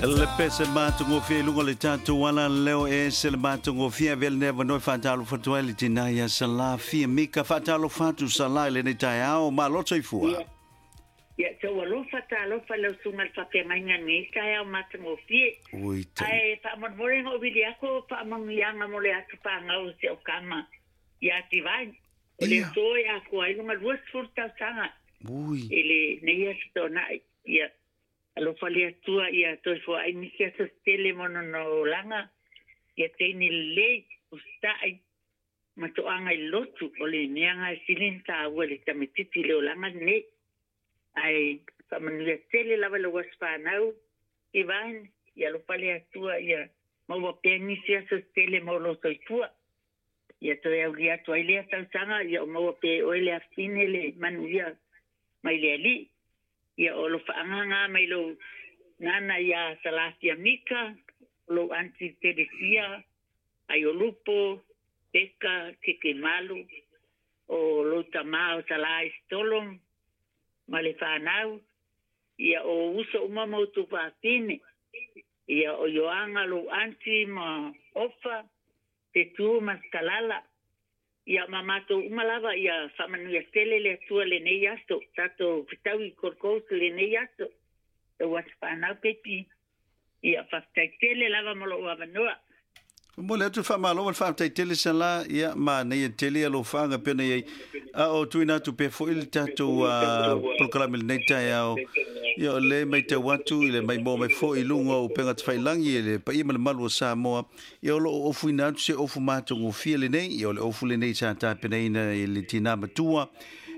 Le pese matagofie i luga o le tatou ala leo e ese le matagofie avea lenei avanoa e faatalofa atu ai le tina ia Sala Fia Mika. Faatalofa atu Sala i lenei taeao. Malo le soifua. Ia, ia tou alofa talofa i lau susuga i le faafeagaiga i lenei taeao matagofie. Ui tai. Ae faamolemole na ou vili atu o faamanuiaga mo le aso fanau o si au tama ia Divine. O le Ia. aso e atoa ai lona 20 tausaga Ui. i lenei aso Toonai. Ia, Alofa le Atua ia toe foai nisi aso se tele mo lona olaga, ia teine lelei, usitai, ma toaga i le lotu, o le mea na e sili ona taua i le tamaititi i le olaga lenei. Ae faamanuia tele lava i lou aso fanau, Divine, ia alofa le Atua ia maua pea nisi aso se tele mo lou soifua. Ia toe aulia atu ai lea tausaga, ia o maua pea e oe le afine le manuia mai le Alii. Ia o alofaaga na mai lou nana ia Salasia Mika, o lou aunty Telesia, Aiolupo, Peka, Kekemalu, o lou tama o Sala Isitolo ma le fanau, ia o uso uma ma outou fafine, ia o Ioaga lou aunty ma Ofa, Fetu ma Kalala, Ia ma matou uma lava ia faamanuia tele le Atua lenei aso, tatou fetaui i Gold Coast lenei aso. Lau aso fanau keiki, ia faafetai tele lava mo lou avanoa. Momoli atu le faamalo ma le faafetai tele Sala, ia manaia tele alofaaga pei ona i ai. A o tuuina atu pea foi le tatou polokalame i lenei taeao, ia o lea e matau atu i le maimoa mai foi i luga o upega tafailagi e le paia ma le malu o Samoa, Ia o lo o ofuina atu se ofu matagofie lenei, ia o le ofu lenei sa tapenaina e le tina matua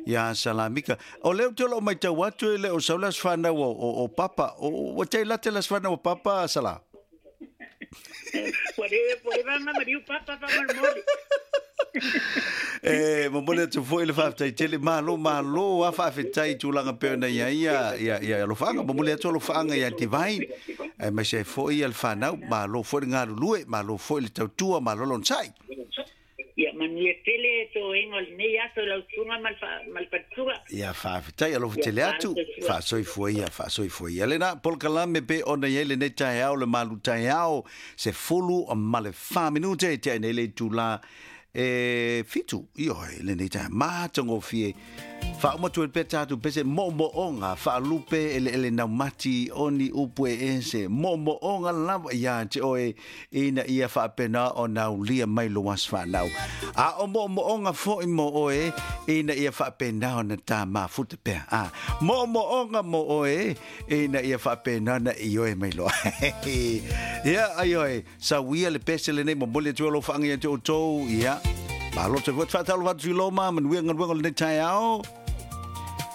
ia Salamika. O lea ou te o lo o matau atu e le o sau le aso fanau o, o, o Papa. O, ua tai lata le aso fanau o Papa, Sala? Ua le, ua le vanga mariu Papa faamolemole. E momoli atu foi le faafetai tele. Malo, malo a faafetai i tulaga pei ona i ai ia, ia, ia alofaaga. Momoli atu alofaaga ia Divine, aemaise ai foi ia le fanau. Malo foi le galulue, malo foi le tautua, malo le onosai. Ia manuia tele toega o lenei aso i lau susuga ma le fa, ma le faletua. Ia faafetai alofa Ia tele atu, faasoifua. faasoifua ia, faasoifua ia. Lena polokalame pei ona i ai lenei taeao le malu taeao, 14 minute e tea nei le itula e 7, ioe, lenei taeao matagofie. Faauma atu ai pea tatou pese moomooga faalupe eleele naumati o ni upu e ese moomooga lava ia te oe ina ia faapena ona aulia mai lou aso fanau. A o moomooga foi mo oe ina ia faapena ona ta mafuta pea. A moomooga mo oe ina ia faapena ona ioe mai loa. Ia, ai oe, sauia le pese lenei momoli atu ai alofaga ia te outou. Ia, malo te foi. Faatalofa atu i Loma, manuia galuega o lenei taeao.